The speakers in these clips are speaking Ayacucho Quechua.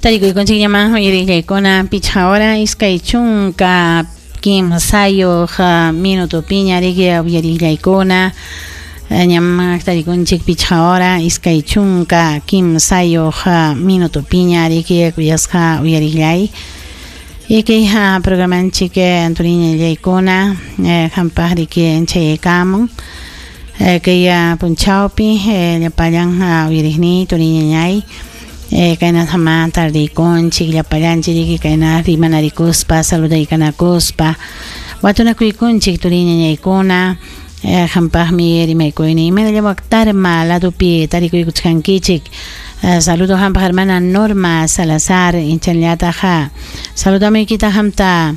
Tarikuykunchikñaman uyariqllaykuna pichqa hora 23 minutopiña riki uyariqllaykuna ñam tarikunchik pichqa hora 23 minutopiña riki kuyasqa uyariqllay. Y kay programanchik turiñallaykuna hampaq riki chayaykamun kay punchawpi llapallan uyariqniy turiñañay kayna sama tardiykunchik llapallanchik riki kayna rimanarikuspa saludaykanakuspa watunakuykunchik turiñañaykuna hampaqmi rimaykuyni imaynalla tarma ladopi tarikuykuchkankichik. Saludo hampaq hermana Norma Salazar inchanllataq saludamuykita hamta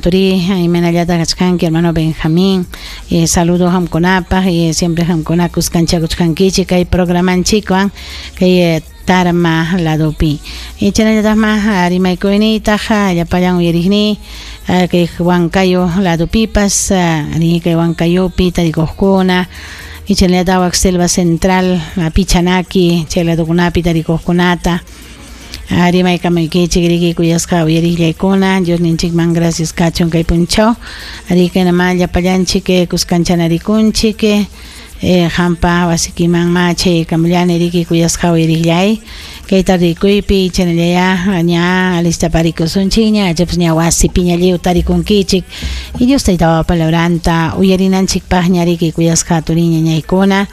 turi imaynallata kachkanki hermano Benjamín, saludo hamkunapaq y siempre hamkuna kuskanchakuchkankichik kay programanchikwan kay tarma ladopi. Chaynallataqma rimaykuyniytaq llapallan uyariqniy kay Huancayo ladopipas kay Huancayopi tarikuqkuna chaynallataq selva central Pichanaki chay ladokunapi tarikuqkunata rimaykamuykichik riki kuyasqa uyariqllaykuna Dios ninchikman gracias kachun kay punchaw rikanama llapallanchik kuskanchanarikunchik hampa wasikiman ma chaykamullani riki kuyasqa uyariqllay kay tardikuypi chaynallaya ña alistaparikusunchikña achapas ña wasipiña lliw tarikunkichik y Dios taytapa palabranta uyarinanchikpaqña riki kuyasqa turiñañaykuna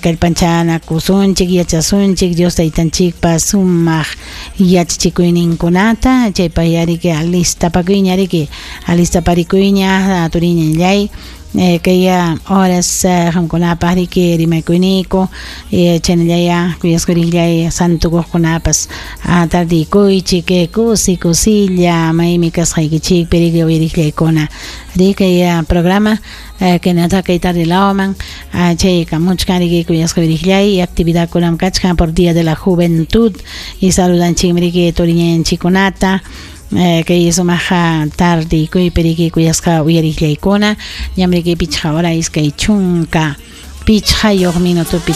kallpanchanakusunchik yachasunchik Dios taytanchikpa sumaq yachachikuyninkunata chaypaq yariki alistapakuyña riki alistaparikuyña turiñallay kay horas qamkunapaq riki rimaykuyniku chaynallaya kuyasqa riqllay santukuqkunapas tardikuychik kusi kusilla maymi kasqaykichikpi riki uyariqllaykuna riki programa kaynata kay tarde lawman chaykamuchkan riki kuyasqa uyariqllay actividadkunam kachkan por Día de la Juventud y saludanchikmi riki turiñanchikkunata kay sumaqa tardikuypi riki kuyasqa uyariqllaykuna ñam riki pichqa hora 25 minutopi.